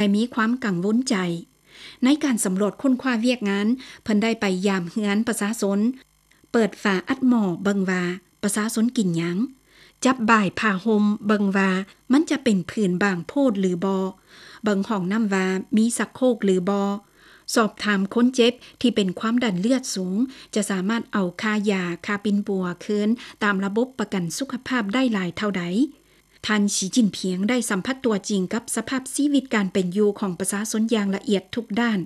ແລະ ມີຄວາມກັງວົນໃຈ. ໃນການສຳຫຼວດຄົ້ນຄວ້າວຽກງານ, ເພິ່ນໄດ້ໄປຢາມເຮືອນປະຊາຊົນ, ເປີດຝາອັດໝໍ້ເບິ່ງວ່າປະຊາຊົນກິນຫຍັງ, ຈັບບ່າຍຜ້າຫົ່ມເບິ່ງວ່າມັນຈະເປັນຜືນບາງໂພດຫຼືບໍ່, ເບິ່ງຫ້ອງນ້ຳວ່າມີຊັກໂຄກຫຼືບໍ່, ສອບຖາມຄົນເຈັບທີ່ເປັນຄວາມດັນເລືອດສູງ ຈະສາມາດເອົາຄ່າຢາ, ຄ່າປິ່ນປົວຄືນຕາມລະບົບປະກັນສຸຂະພາບໄດ້ຫຼາຍເທົ່າໃດ. ທ່ານ ສີ ຈິ້ນຜິງ ໄດ້ສຳຜັດຕົວຈິງກັບສະພາບຊີວິດການເປັນຢູ່ຂອງປະຊາຊົນຢ່າງລະອຽດທຸກດ້ານ,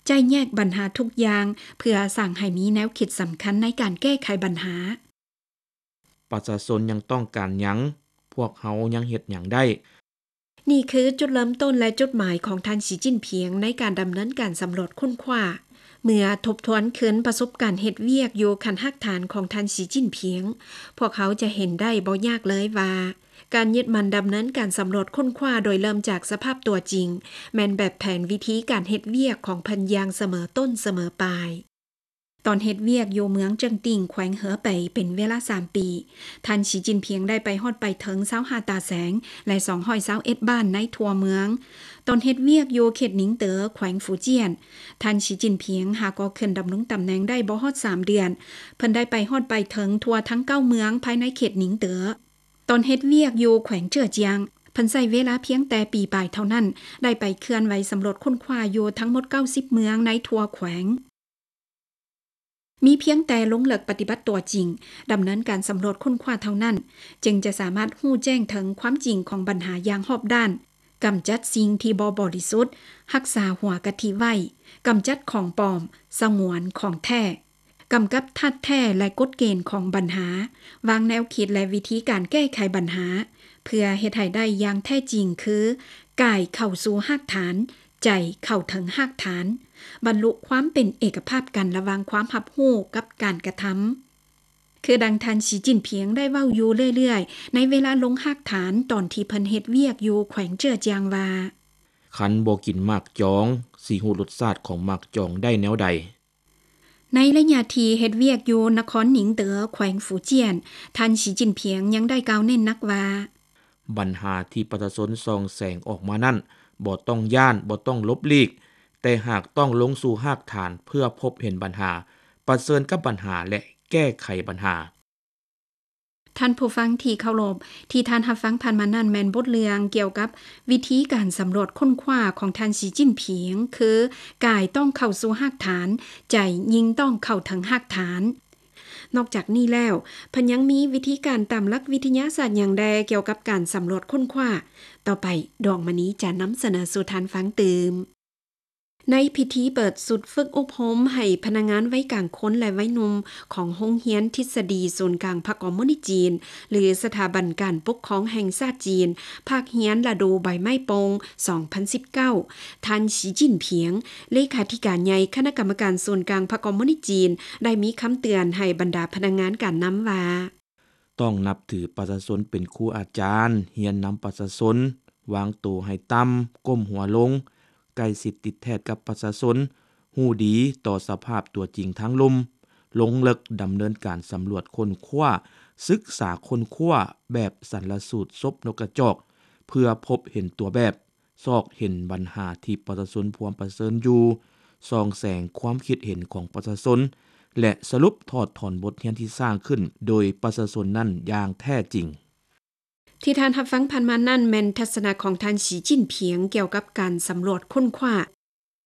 ໄຈ້ແຍກບັນຫາທຸກຢ່າງ ເພື່ອສ້າງໃຫ້ມີແນວຄິດສຳຄັນໃນການແກ້ໄຂບັນຫາ. ປະຊາຊົນຍັງຕ້ອງການຫຍັງ? ພວກເຮົາຍັງເຮັດຫຍັງໄດ້? ນີ້ຄືຈຸດເລີ່ມຕົ້ນ ແລະ ຈຸດໝາຍຂອງທ່ານ ສີ ຈິ້ນຜິງ ໃນການດຳເນີນການສຳຫຼວດຄົ້ນຄວ້າ. ເມື່ອທົບທວນຄືນປະສົບການເຮັດວຽກຢູ່ຂັ້ນຮາກຖານຂອງທ່ານ ສີ ຈິ້ນຜິງ, ພວກເຮົາຈະເຫັນໄດ້ບໍ່ຍາກເລີຍວ່າ ການຍຶດໝັ້ນດຳເນີນການສຳຫຼວດຄົ້ນຄວ້າໂດຍເລີ່ມຈາກສະພາບຕົວຈິງ ແມ່ນແບບແຜນວິທີການເຮັດວຽກຂອງເພິ່ນຢ່າງສະເໝີຕົ້ນສະເໝີປາຍ. ຕອນເຮັດວຽກຢູ່ເມືອງເຈິງຕິ່ງ ແຂວງເຫີເປຍ ເປັນເວລາສາມປີ, ທ່ານ ສີ ຈິ້ນຜິງ ໄດ້ໄປຮອດໄປເຖິງຊາວຫ້າຕາແສງ ແລະ ສອງຮ້ອຍຊາວເອັດບ້ານໃນທົ່ວເມືອງ. ຕອນເຮັດວຽກຢູ່ເຂດໜິງເຕີ ແຂວງຟູຈຽນ, ທ່ານ ສີ ຈິ້ນຜິງ ຫາກໍຂຶ້ນດຳລົງຕຳແໜ່ງໄດ້ບໍ່ຮອດສາມເດືອນ, ເພິ່ນໄດ້ໄປຮອດໄປເຖິງທົ່ວທັງເກົ້າເມືອງພາຍໃນເຂດໜິງເຕີ. ຕອນເຮັດວຽກຢູ່ແຂວງເຈີອຈຽງ, ເພິ່ນໃຊ້ເວລາພຽງແຕ່ປີປາຍເທົ່ານັ້ນ, ໄດ້ໄປເຄື່ອນໄຫວສຳຫຼວດຄົ້ນຄວ້າຢູ່ທັງໝົດເກົ້າສິບເມືອງໃນທົ່ວແຂວງ. ມີພຽງແຕ່ລົງເລິກປະຕິບັດຕົວຈິງ, ດຳເນີນການສຳຫຼວດຄົ້ນຄວ້າເທົ່ານັ້ນ, ຈຶ່ງຈະສາມາດຮູ້ແຈ້ງເຖິງຄວາມຈິງຂອງບັນຫາຢ່າງຮອບດ້ານ, ກຳຈັດສິ່ງທີ່ບໍ່ບໍລິສຸດ, ຮັກສາຫົວກະທິໄວ້, ກຳຈັດຂອງປອມ, ສະຫງວນຂອງແທ້, ກຳກັບທາດແທ້ ແລະ ກົດເກນຂອງບັນຫາ, ວາງແນວຄິດ ແລະ ວິທີການແກ້ໄຂບັນຫາ, ເພື່ອເຮັດໃຫ້ໄດ້ຢ່າງແທ້ຈິງ ຄື ກາຍເຂົ້າສູ່ຮາກຖານ, ໃຈເຂົ້າເຖິງຮາກຖານ, ບັນລຸຄວາມເປັນເອກະພາບກັນລະຫວ່າງຄວາມຮັບຮູ້ກັບການກະທຳ. ຄືດັ່ງທ່ານ ສີ ຈິ້ນຜິງ ໄດ້ເວົ້າຢູ່ເລື້ອຍໆ ໃນເວລາລົງຮາກຖານ ຕອນທີ່ເພິ່ນເຮັດວຽກຢູ່ແຂວງເຈີອຈຽງວ່າ, ຄັນບໍ່ກິນໝາກຈອງ, ຊິຮູ້ລົດຊາດຂອງໝາກຈອງໄດ້ແນວໃດ? ໃນໄລຍະທີ່ເຮັດວຽກຢູ່ນະຄອນໜິງເຕີ ແຂວງຟູຈຽນ, ທ່ານ ສີ ຈິ້ນຜິງ ຍັງໄດ້ກ່າວເນັ້ນໜັກວ່າ, ບັນຫາທີ່ປະຊາຊົນສ່ອງແສງອອກມານັ້ນ ບໍ່ຕ້ອງຢ້ານ, ບໍ່ຕ້ອງຫຼົບຫຼີກ, ແຕ່ຫາກຕ້ອງລົງສູ່ຮາກຖານເພື່ອພົບເຫັນບັນຫາ, ປະເຊີນກັບບັນຫາ ແລະ ແກ້ໄຂບັນຫາ. ທ່ານຜູ້ຟັງທີ່ເຄົາລົບ, ທີ່ທ່ານຮັບຟັງຜ່ານມານັ້ນແມ່ນບົດເລື່ອງກ່ຽວກັບວິທີການສຳຫຼວດຄົ້ນຄວ້າຂອງທ່ານ ສີ ຈິ້ນຜິງ, ຄື ກາຍຕ້ອງເຂົ້າສູ່ຮາກຖານ, ໃຈຍິ່ງຕ້ອງເຂົ້າເຖິງຮາກຖານ. ນອກຈາກນີ້ແລ້ວ, ເພິ່ນຍັງມີວິທີການຕາມຫຼັກວິທະຍາສາດຫຍັງແດ່ກ່ຽວກັບການສຳຫຼວດຄົ້ນຄວ້າ? ຕໍ່ໄປ, ດວງມະນີຈະນຳສະເໜີສູ່ທ່ານຟັງຕື່ມ. ໃນພິທີເປີດຊຸດຝຶກອົບຮົມໃຫ້ພະນັກງານໄວກາງຄົນ ແລະ ໄວໜຸ່ມຂອງໂຮງຮຽນທິດສະດີສູນກາງພັກຄອມມູນິດຈີນ ຫຼື ສະຖາບັນການປົກຄອງແຫ່ງຊາດຈີນ, ພາກຮຽນລະດູໃບໄມ້ປົ່ງ ສອງພັນສິບເກົ້າ, ທ່ານ ສີ ຈິ້ນຜິງ, ເລຂາທິການໃຫຍ່ຄະນະກຳມະການສູນກາງພັກຄອມມູນິດຈີນ ໄດ້ມີຄຳເຕືອນໃຫ້ບັນດາພະນັກງານການນຳວ່າ, ຕ້ອງນັບຖືປະຊາຊົນເປັນຄູອາຈານ, ຮຽນນຳປະຊາຊົນ, ວາງໂຕໃຫ້ຕ່ຳ, ກົ້ມຫົວລົງ, ໃກ້ຊິດຕິດແທດກັບປະຊາຊົນ, ຮູ້ດີຕໍ່ສະພາບຕົວຈິງທາງລຸ່ມ, ລົງເລິກດຳເນີນການສຳຫຼວດຄົ້ນຄວ້າ, ສຶກສາຄົ້ນຄວ້າແບບສັນລະສູດສົບນົກກະຈອກ ເພື່ອພົບເຫັນຕົວແບບ, ຊອກເຫັນບັນຫາທີ່ປະຊາຊົນພວມປະເຊີນຢູ່, ສ່ອງແສງຄວາມຄິດເຫັນຂອງປະຊາຊົນ ແລະ ສະຫຼຸບຖອດຖອນບົດຮຽນທີ່ສ້າງຂຶ້ນໂດຍປະຊາຊົນນັ້ນຢ່າງແທ້ຈິງ. ທີ່ທ່ານຮັບຟັງຜ່ານມານັ້ນແມ່ນທັດສະນະຂອງທ່ານ ສີ ຈິ້ນຜິງ ກ່ຽວກັບການສຳຫຼວດຄົ້ນຄວ້າ.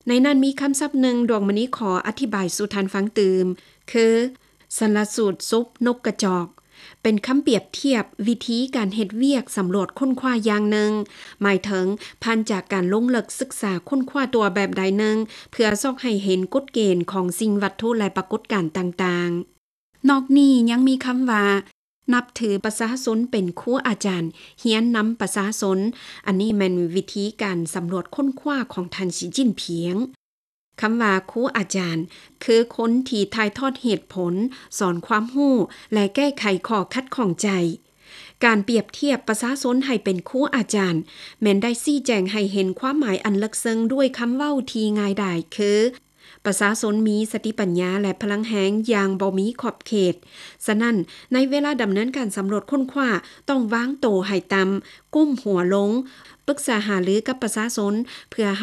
ໃນນັ້ນມີຄຳສັບໜຶ່ງ ດວງມະນີຂໍອະທິບາຍສູ່ທ່ານຟັງຕື່ມ, ຄື ສັນລະສູດສົບນົກກະຈອກ. ເປັນຄຳປຽບທຽບວິທີການເຮັດວຽກສຳຫຼວດຄົ້ນຄວ້າຢ່າງໜຶ່ງ, ໝາຍເຖິງຜ່ານຈາກການລົງເລິກສຶກສາຄົ້ນຄວ້າຕົວແບບໃດໜຶ່ງ ເພື່ອຊອກໃຫ້ເຫັນກົດເກນຂອງສິ່ງວັດຖຸ ແລະ ປາກົດການຕ່າງໆ. ນອກນີ້ຍັງມີຄຳວ່າ ນັບຖືປະຊາຊົນເປັນຄູອາຈານ, ຮຽນນຳປະຊາຊົນ. ອັນນີ້ແມ່ນວິທີການສຳຫຼວດຄົ້ນຄວ້າຂອງທ່ານ ສີ ຈິ້ນຜິງ. ຄຳວ່າຄູອາຈານ ຄືຄົນທີ່ຖ່າຍທອດເຫດຜົນ, ສອນຄວາມຮູ້ ແລະ ແກ້ໄຂຂໍ້ຂັດຂ້ອງໃຈ. ການປຽບທຽບປະຊາຊົນໃຫ້ເປັນຄູອາຈານ ແມ່ນໄດ້ຊີ້ແຈງໃຫ້ເຫັນຄວາມໝາຍອັນເລິກເຊິ່ງດ້ວຍຄຳເວົ້າທີ່ງ່າຍດາຍ ຄື ປະຊາຊົນມີສະຕິປັນຍາ ແລະ ພະລັງແຮງຢ່າງບໍ່ມີຂອບເຂດ. ສະນັ້ນ, ໃນເວລາດຳເນີນການສຳຫຼວດຄົ້ນຄວ້າ, ຕ້ອງວາງໂຕໃຫ້ຕ່ຳ, ກົ້ມຫົວລົງ, ປຶກສາຫາລືກັບປະຊາຊົນ ເພື່ອ